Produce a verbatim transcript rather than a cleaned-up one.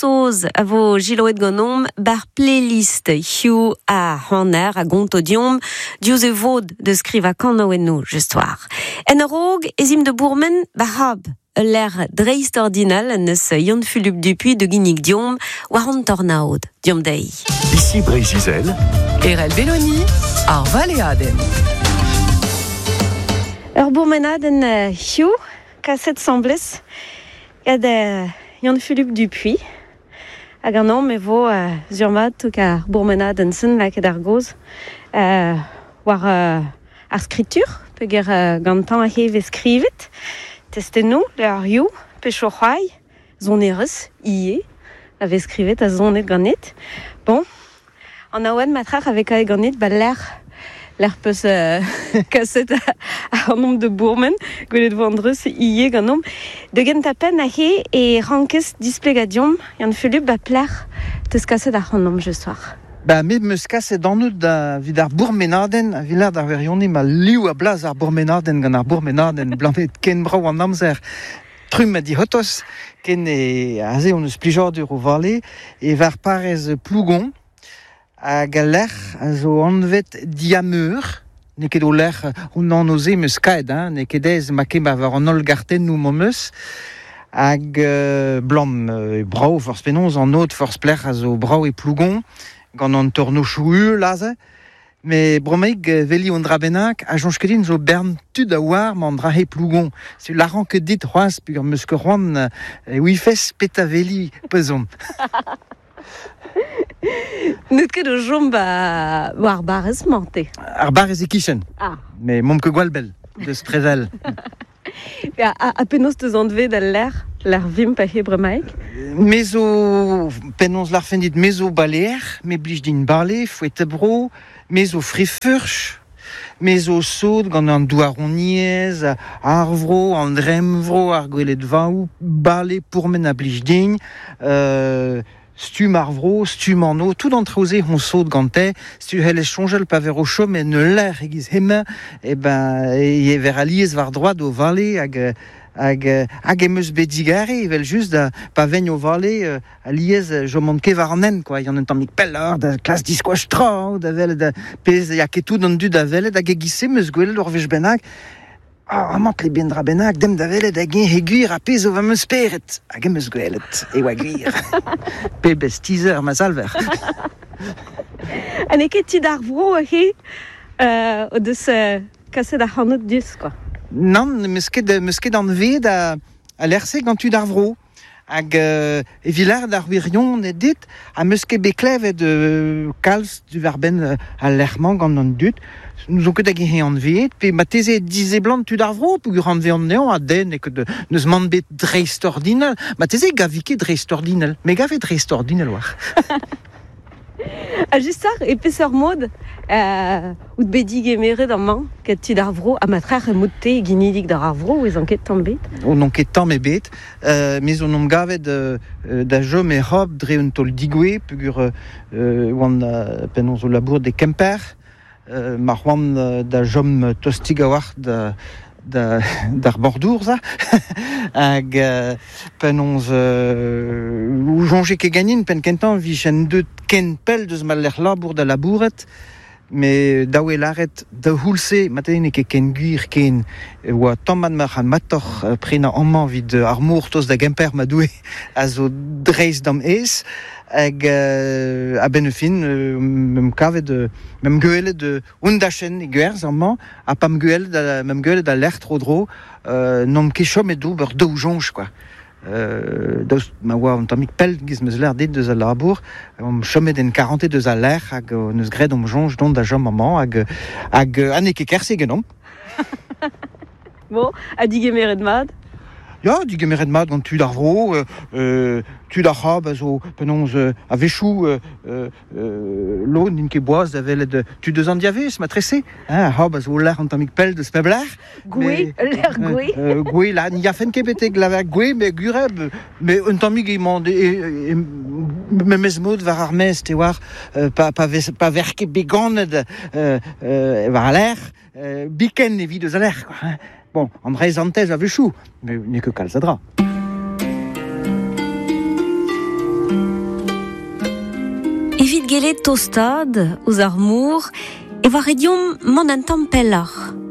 Bro-Saoz a vo jiloet ganeomp bar playlist Hugh a hanner a gonto diomp diouzh e vod de skriva kanaouennoù just war. En a-raok ez imp de bourmen bar hab l'air dreist ordinal neus Yann-Fulup Dupuy de ginnig diomp war an tornaod diomp dei. Ici Breizh-Izel, Erel Belloni, ar Valeaden. Ur bourmenadenn Hugh, kaset semblez, gant Yann-Fulup Dupuy. Hag an an me vo uh, zurmat touk ar bourmenadenn sen lakaet ar goz uh, war uh, ar skritur, peger uh, gantañ a heve skrivet. Testennoù, le ar you, pecho c'hoai, zonerez, ie, a vez skrivet a zonet ganet. Bon, an aouen matrach avec ae ganet, ba l'air, l'air peus euh, kaset a an de bourmen, gwelet vo andreus ie ganomp. De gentapen a he e rankez displegadiom, Yann Fulup ba pler teus kaset ar an je soir. Ba, me meus kaset an out da vid ar bourmenadenn, a vilad ar verioni ma liv a blaz ar bourmenadenn gant ar bourmenadenn, blamet ken brao an amzer trum a dihotos, ken e aze on eus plijadur o vale, e var parez Plougon, hag a lec'h a zo anvet diameur, ne ket o lec'h on an oze meus kaet, hein, ne ket ez ma ket war an holl gartennoù m'am eus, hag euh, blam euh, brao forz penaos an ot forz plec'h a zo brao e Plougon, gant an tornochoù ul aze, me bromeig veli on dra bennak, a jonch ket din zo bern tud a war ma an dra he Plougon. Se laran ket dit c'hoaz, pugur meus ket c'hoant e ouifes peta veli pezon. N'eut ket o jom ba war barrez mante. Ar barrez e kichen. Ah. Me momp ket gwall bell, deus prevel. A, a, a penaos teus anvet al l'air, l'air vimp a he bremaik? Me zo, penaos l'arfen dit, me zo baleer, me blij din bale, fouet bro, me zo frifurch, me zo sod gant an douaroniez, ar vro, an dremvro, ar gwelet vaou, bale pourmen a blij din, euh, stum ar vro, stum an o, tout an traoze hon sod gante, stu helle chonjel pa ver o chom en l'air egiz hemañ, e ben, e ver aliez war droad o vale hag hag hag em eus bet digare evel just da pa vegn o vale euh, aliez je mont ket war an en quoi, y an un tammig pelloc'h da klas diskoach tra da velet da pezh ya ket tout an dud da velet hag e-giz-se meus gwelet ur wech bennak. Ah, amant le ben dra bennak, dem da velet hag he gwir a pezh o va meus speret. Hag em eus gwelet, e oa gwir. Pebezh teaser ma salver. Ha n'eo ket tud ar vro he euh, o deus euh, kaset ar c'hanout diouzh, quoi. Nann, meus ket, meus ket anvet a, a lec'h-se gant tud ar vro. Hag euh, e vilard ar wirion e dit, ha meus ket bet klevet euh, kalz du war benn euh, al lec'h-mañ gant an dud. Nous on ket hag he anvet, pe ma teze dizeblant tud ar vro, peogwir anvet an nean a den e ket neus man bet dreist-ordinal. Ma teze gavi ket dreist-ordinal, me gave dreist-ordinal war. A just ar, e peseurt mod, euh, out bet digemeret amañ, ket tud ar vro, ha ma trec'h e mod-te ginidik d'ar ar vro, ez an ket tamm bet? On n'on ket tamm ebet, euh, mes on omp gavet euh, da jom e rob dre un tol digoué, peogwir euh, oan euh, penaos o labour de Kemper, euh, ma c'hoant euh, da jom tostig a war da, da, d'ar bordour, ça. Hag euh, penaos euh, ou jonge ket ganin, pen kentan vichen deut ken pell deus ma lec'h labour da labouret, me daou e laret da houlse, maten ket ken gwir ken oa tammad ma c'han matoc'h euh, prenañ amañ vid ar mor toz da Gemper ma doue a zo dreist d'am ez, hag euh, a ben fin euh, mem kavet euh, mem gwelet euh, un dachen e gwerz amañ, ha pa'm gwelet da, mem gwelet da lec'h tro dro, euh, n'om ket chom e d'ober daou jonj, quoi. Euh, daoust ma oa un tammig pell giz meus l'air dit deus al labour, om chomet en quarante deus al lec'h hag euh, neus graet om jonj dont da jom amañ hag, hag euh, ha n'eo ket kerse genomp. Bon, ha digemeret mat? Ya, digemeret mat gant tud ar vro, euh, euh, tud ar c'hab a zo penaos euh, a vechou euh, euh, lo n'int ket boaz da velet euh, tud eus an diavez, ma trese, hein, ar c'hab a zo l'air an tammig pell deus peb lec'h. Goué, l'air goué. Euh, euh, goué, là, n'y a fen ket betek la goué, mais gureb, mais un tammig emañ e, e, e, memez mod war ar mez, te war, euh, pa, pa, vez, pa ver ket beganet euh, euh, war a l'air, euh, biken evit eus a l'air, quoi, hein. Bon, an reiz antez a vechou, mais n'eo ket kalz a dra. gele tostad ouz ar mour e war ediom mont an tamm pelloc'h.